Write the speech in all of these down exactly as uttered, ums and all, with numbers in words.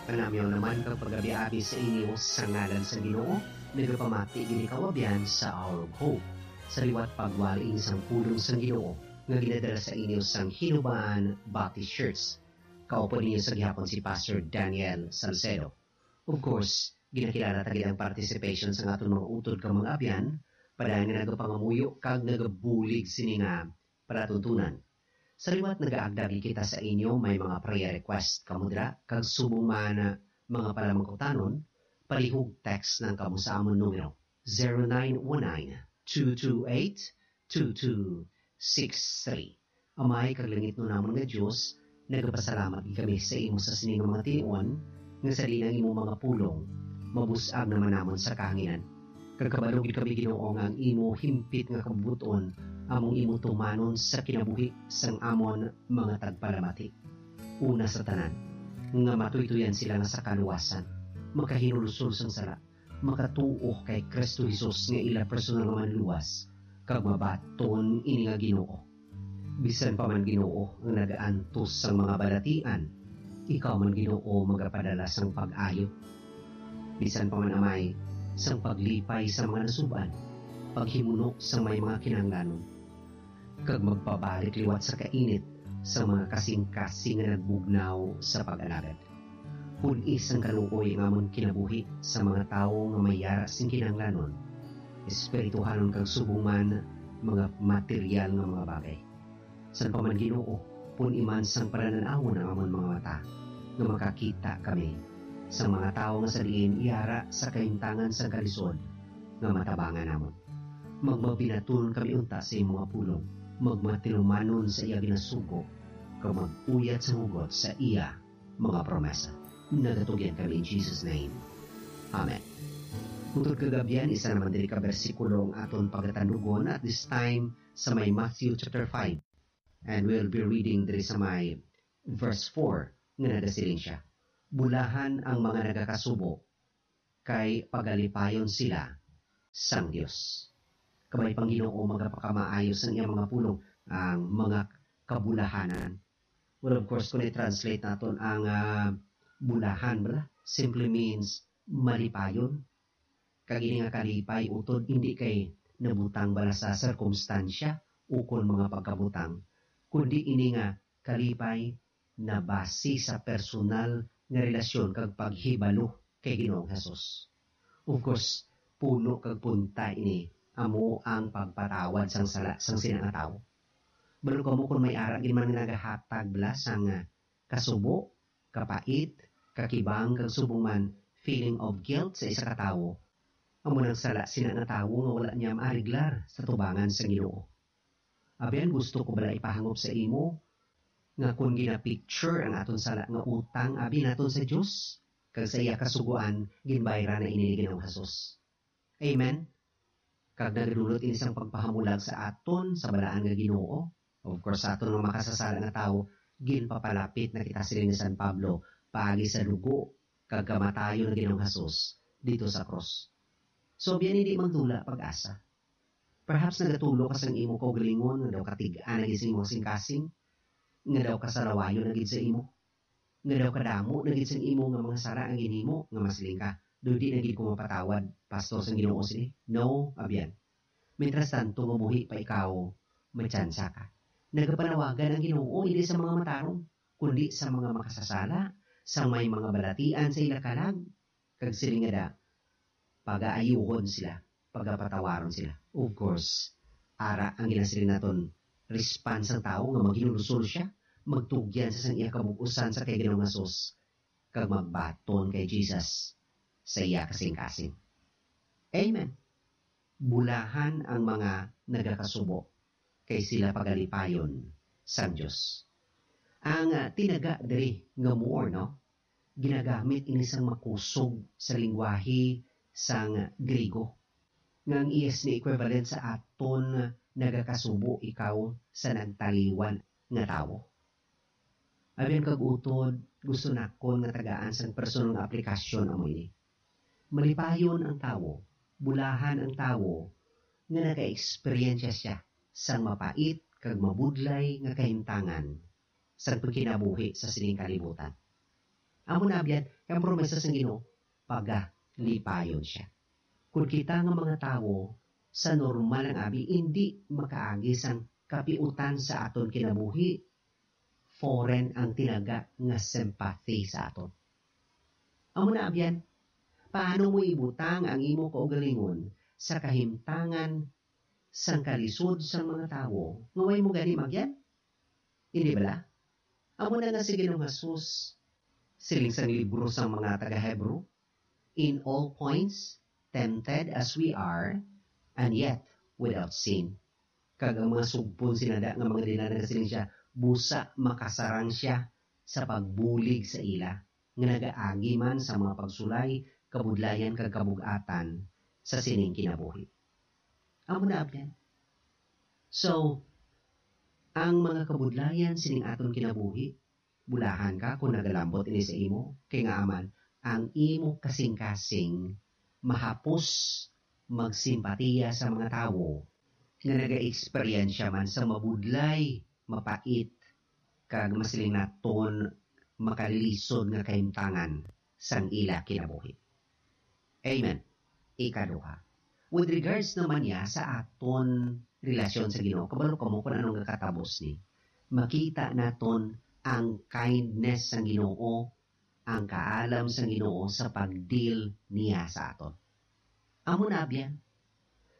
Panamyaw naman kag pagabi-abi sa inyo sa ngalan sang Ginoo, nagapamati gid ikaw, abyan, sa Hour of Hope. Sa liwat pagwali ini sang pulong sang Ginoo nga ginadala sa inyo sang Hinubaan Baptist Church. Kaupo ninyo sa gihapon si Pastor Daniel Salcedo. Of course, ginakilala ta gid ang participation sang aton mga utod kag mga abyan, padayon nga nagapangamuyo kag nagabulig sini nga palatuntunan. Sa liwat nagaagda gid kita sa inyo, may mga prayer request kamo dira, kag subong man mga palamangkutanon, palihog text lang kamo sa amon numero, zero nine one nine, two two eight, two two six three. Amay kag langitnon namon nga Dios, nagapasalamat gid kami sa imo sa sini nga mga tion, nga sa diin ang imo mga pulong mabus-ag naman namon sa kahanginan. Kag kabalo gid kami, Ginoo, nga ang imo himpit nga kabubut-on among imo tumanon sa kinabuhi sang amon mga tagpalamati. Una sa tanan, nga matuytoyan sila nga sa kaluwasan, makahinulsol sang sala, makatuo kay Cristo Jesus nga ila personal nga Manluwas, kag mabaton ini nga Ginoo. Bisan pa man, Ginoo, ang nagaantos sang mga balatian, ikaw man, Ginoo, magapadala sang pag-ayo. Bisan pa man, Amay, sang paglipay sa mga nasub-an, paghimuno sa may mga kinahanglanon, kag magpabalik liwat sa kainit sa mga kasing-kasing nga nagbugnaw sa pag-alagad. Pun-i sang kaluoy ang amon kinabuhi sa mga tawo nga may yara sing kinahanglanon, espirituhanon kag subong man mga material nga mga bagay. San pa man, Ginoo, pun-i man sang pananan-awon ang amon mga mata, nga makakita kami sang mga tawo nga sa diin yara sa kahimtangan sang kalisod nga matabangan namon. Magmabinaton kami unta sa imo nga pulong, magmatinumanon sa iya ginasugo, kag mag-uyat sa hugot sa iya mga promesa. Nagatugyan kami in Jesus' name. Amen. Utod kag abyan, isa naman diri ka bersikulo ang aton pagatandugon at this time sa may Matthew chapter five. And we'll be reading diri sa may verse four nga nagasiling siya, "Bulahan ang mga nagakasubo, kay pagalipayon sila sang Dios." Kabay pang Ginoo magapakamaayo sang iyang mga pulong ang mga kabulahanan. Well, of course, kung i-translate naton ang, ah, bulahan, bala, simply means malipayon. Kag ini nga kalipay, utod, hindi kay nabutang bala sa sirkumstansya ukon mga pagkabutang, kundi ini nga kalipay nabase sa personal nga relasyon kag paghibalo kay Ginoong Jesus. Of course, puno kag punta ini amo ang pagpatawad sang sala sang sina nga tawo. Balo kamo kon may ara gid man nga nagahatag bala sang, ah, kasubo, kapait, kakibang, kag subong man feeling of guilt sa isa ka tawo, amo nang sala sina nga tawo nga wala niya maariglar sa tubangan sang Ginoo. Abyan, gusto ko bala ipahangop sa imo nga kon gina-picture ang aton sala nga utang abi naton sa Dios, kag sa iya kasugoan, ginbayran na ini ni Ginoong Jesus. Amen. Kag nagadulot ini sang pagpahamulag sa aton sa balaan nga Ginoo. Of course, sa aton nga makasasala nga tawo, ginpapalapit na kita, siling ni San Pablo, paagi sa dugo kag kamatayon nga Ginoong Jesus dito sa krus. So, biya ni di magdula pag-asa. Perhaps nagatulo ka sang imo kaugalingon, nga daw katig-an na gid sa imo kasing-kasing, nga daw kasalawayon na gid sa imo, nga daw kadamo na gid sang imo nga mga sala ang ginhimo, nga masiling ka, "Daw di na gid ko mapatawad, Pastor, sang Ginoo sini." No, abyan. Mientras tanto nga buhi pa ikaw, may tsansa ka. Nagapanawagan ang Ginoo hindi sa mga matarong, kundi sa mga makasasala, sa may mga balatian sa ila kalag, kag siling nga da, pagaayuhon sila, pagapatawaron sila. Of course, ara ang ginasiling naton, response sang tawo nga maghinulsol siya, magtugyan sa sang iya kabug-usan sa kay Ginoong Jesus, kag magbaton kay Jesus sa iya kasing-kasing. Amen. Bulahan ang mga nagakasubo, kay sila pagalipayon sang Dios. Ang, ah, tinaga diri nga more, no? Ginagamit ini sang makusog sa lingwahe sang Griego, nga ang iyas ni equivalent sa aton nagakasubo ikaw sa nagtaliwan nga tawo. Abyan kag utod, gusto nakon nga tagaan sang personal nga aplikasyon amo ini. Malipayon ang tawo, bulahan ang tawo nga naka-eksperyensya siya sang mapait kag mabudlay nga kahimtangan sang pagkinabuhi sa sining kalibutan. Amo na abyan, kay ang promesa sang Ginoo, pagalipayon sia. Kun kita nga mga tawo, sa normal ang abi, indi makaagi sang kapiutan sa aton kinabuhi, foreign ang tinaga nga sympathy sa aton. Amo na abyan, paano mo ibutang ang imo kaugalingon sa kahimtangan sang kalisod sang mga tawo nga way mo gani magyan? Hindi bala? Amo na nga si Ginoong Jesus, siling sang libro sang mga taga-Hebro, "In all points, tempted as we are, and yet without sin." Kag ang mga sugpon sinada nga mga dila nagasiling sia, busa makasarang sia sa pagbulig sa ila, nga nagaagi man sa mga pagsulay, kabudlayan, kag kabug-atan sa sining kinabuhi. Amo na abyan. So, ang mga kabudlayan sining aton kinabuhi, bulahan ka kung nagalambot ini sa imo, kay nga aman ang imo kasing-kasing mahapos magsimpatiya sa mga tawo nga nagaeksperyensya man sa mabudlay, mapait, kag masiling naton makalilisod nga kahimtangan sang ila kinabuhi. Amen. Ikaduha, with regards naman niya sa aton relasyon sa Ginoo, kabalo kamo kung ano nga katabos ni. Makita naton ang kindness sang Ginoo, ang kaalam sang Ginoo sa pag-deal niya sa aton. Amo na abyan.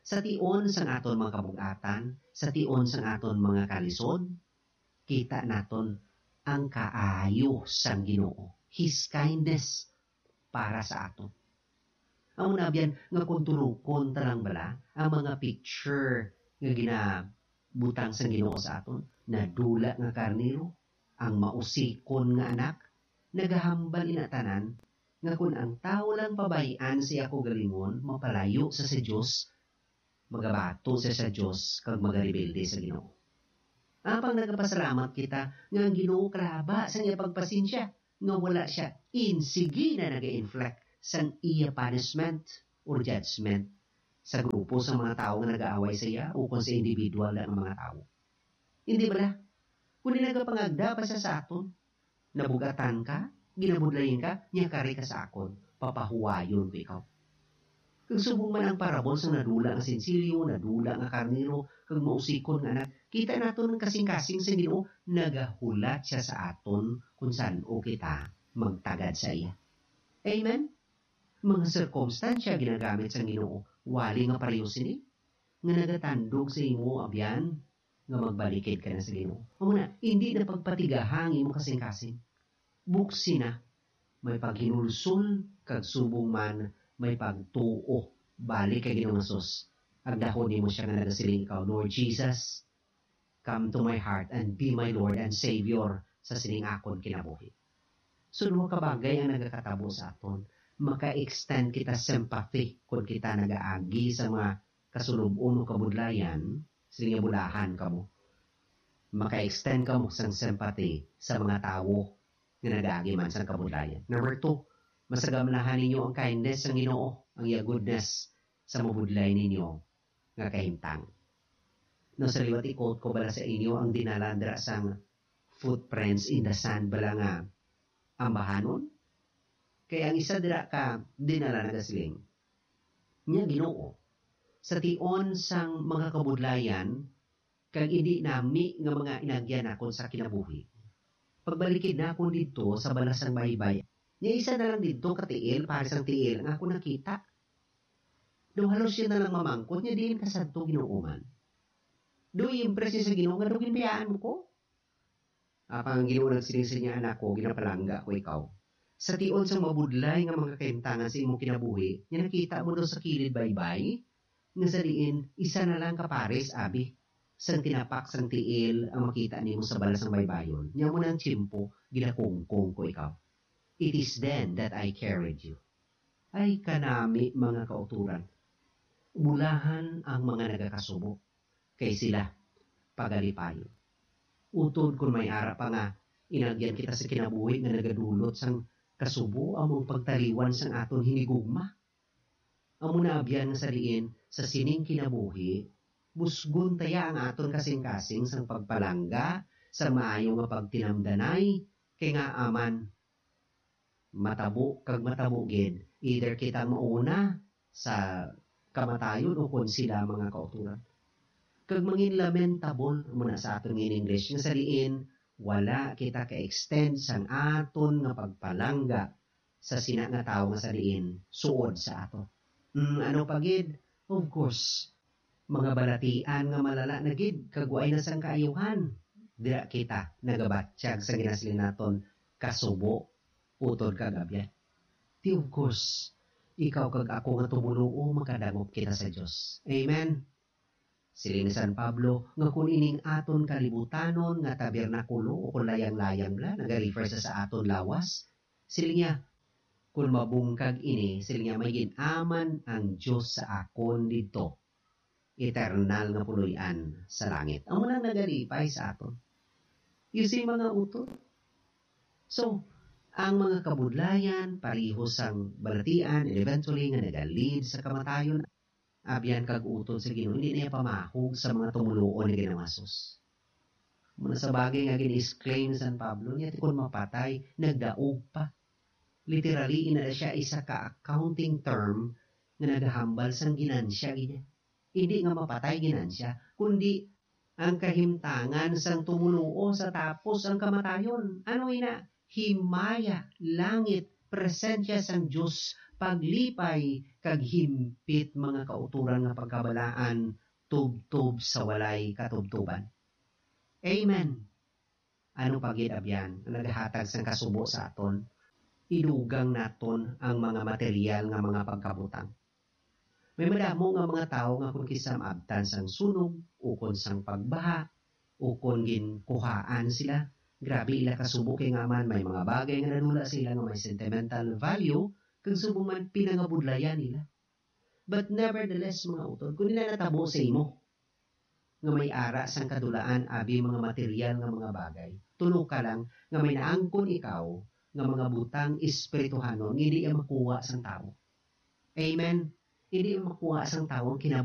Sa tion sang aton mga kabug-atan, sa tion sang aton mga kalisod, kita naton ang kaayo sang Ginoo, His kindness para sa aton. Amo na abyan nga kung tunokon ta lang bala ang mga picture nga ginabutang sang Ginoo sa aton, nadula nga karnero, ang mausikon nga anak, nagahambal ina tanan nga kon ang tawo lang pabay-an sa iya kaugalingon, mapalayo sa sa Dios, magabato sia sa Dios kag magarebelde sa Ginoo. Apang nagapasalamat kita nga ang Ginoo kalaba sang iya pagpasensya, nga wala sia insigi na naga-inflict sang iya punishment or judgment sa grupo sa mga tawo nga nagaaway sa iya ukon sa individual nga mga tawo. Hindi bala? Kundi nagapangagda pa sia sa aton. Nabugatan ka, ginabudlayan ka, nya kari ka sa akon, papahuwayon ko ikaw. Kag subong man ang parabol sang nadula nga sensilyo, nadula nga karnero, kag mausikon nga anak, kita naton ang kasing-kasing sang Ginoo, nagahulat sia sa aton kon san-o kita magtagad sa iya. Amen? Mga sirkumstansya ginagamit sang Ginoo, wali nga pareho sini, nga nagatandog sa imo, abyan, nga magbalikid ka na sa Ginoo. Amo na, hindi na pagpatigaha ang imong kasing-kasing. Buksi na, may paghinulsol, kag subong man, may pagtuo. Balik kay Ginoong Jesus. Agdahon nimo sia nga nagasiling ikaw, "Lord Jesus, come to my heart and be my Lord and Savior sa sining akon kinabuhi." So, duha ka bagay ang nagakatabo sa aton. Maka-extend kita sympathy kung kita nagaagi sa mga kasulub-on o kabudlayan, siling nga bulahan kamo. Maka-extend kamo sang sympathy sa mga tawo nga nagaagi man sang kabudlayan. Number two, masagamlahan ninyo ang kindness sang Ginoo, ang iya goodness sa mabudlay ninyo nga kahimtang. No, sa liwat, i-quote ko bala sa inyo ang dinala dira sang Footprints in the Sand bala nga ambahanon? Kay ang isa dira ka dinala nagasiling, "Nya, Ginoo, sa tion sang mga kabudlayan kag indi nami nga mga inagyan nakon sa kinabuhi, pagbalikid nakon didto sa balas sang baybay. Nya, isa na lang didto ka tiil, pares sang tiil, ang akon nakita." Daw halos sia na lang mamangkot, "Nya diin ka sadto, Ginoo man?" Daw i-impress niya sa Ginoo nga daw ginbayaan mo ko. Apang ang Ginoo nagsiling sa iya, "Anak ko, ginapalangga ko ikaw. Sa tion sang mabudlay nga mga kahimtangan sa imong kinabuhi, nga nakita mo daw sa kilid baybay, nga sa diin isa na lang ka pares, abi, sang tinapak sang tiil ang makita nimo sa balas sang baybayon, nya mo nang tiyempo, ginakungkong ko ikaw. It is then that I carried you." Ay kanami, mga kauturan. Bulahan ang mga nagakasubo, kay sila pagalipayon. Utod kon may ara pa nga inagyan kita sa kinabuhi nga nagadulot sang kasubo, amo ang pagtaliwan sang aton hinigugma. Amo na abyan nga sa diin sa sining kinabuhi, busgon ta ya ang aton kasing-kasing sang pagpalangga, sang maayo nga pagtinamdanay, kay nga aman matabo kag matabo gid, either kita mauna sa kamatayon o kon sila mga kautoran. Kag mangin lamentable mo na sa aton nga in English, nga sa diin wala kita ka-extend sang aton nga pagpalangga sa sina nga tawo nga sa diin suod sa ato. Mm, ano pa gid? Of course, mga balatian nga malala na gid kag waay na sang kaayuhan. Dira kita nagabatyag sa ginasiling naton kasubo utod kag abyan. Di of course, ikaw kag ako nga tumoluo makadangop kita sa Dios. Amen. Siling ni San Pablo nga kun ining aton kalibutanon nga tabernakulo o kun layang-layang bala, nagarefer sa, sa aton lawas, siling niya, kun mabungkag ini, siling niya, may gin-aman ang Dios sa akon didto, eternal nga puloy-an sa langit. Amo nang nagalipay sa aton. You see, mga utod? So, ang mga kabudlayan, pareho sang balatian, and eventually nga nagalid sa kamatayon, abyan kag utod sa Ginoo, hindi niya pamahog sa mga tumoluo ni Ginoong Jesus. Muna sa bagay nga gin-exclaim ni San Pablo, niya, "Ti kon mapatay, nagdaog pa." Literally, ina siya isa ka accounting term nga nagahambal sang ginansya gid niya. Hindi nga mapatay ginansya, kundi ang kahimtangan sang tumoluo sa tapos ang kamatayon. Ano ina? Himaya, langit, presensya sang Dios, paglipay, kag himpit mga kautoran nga pagkabalaan, tubtob sa walay katubtoban. Amen. Ano pa gid abyan ang nagahatag sang kasubo sa aton? Idugang naton ang mga material nga mga pagkabutang. May madamo nga mga tawo nga kon kisa maabtan sang sunog, ukon sang pagbaha, ukon ginkuhaan sila, grabe ila kasubo kay nga man may mga bagay nga nadula sa ila nga may sentimental value, kag subong man pinangabudlayan nila. But nevertheless, mga utod, kung ila natabo sa imo, nga may ara sang kadulaan abi mga material nga mga bagay, tunoka lang nga may naangkon ikaw nga mga butang espirituhanon nga hindi iya makuha sang tawo. Amen. Hindi iya makuha sang tawo ang kinab-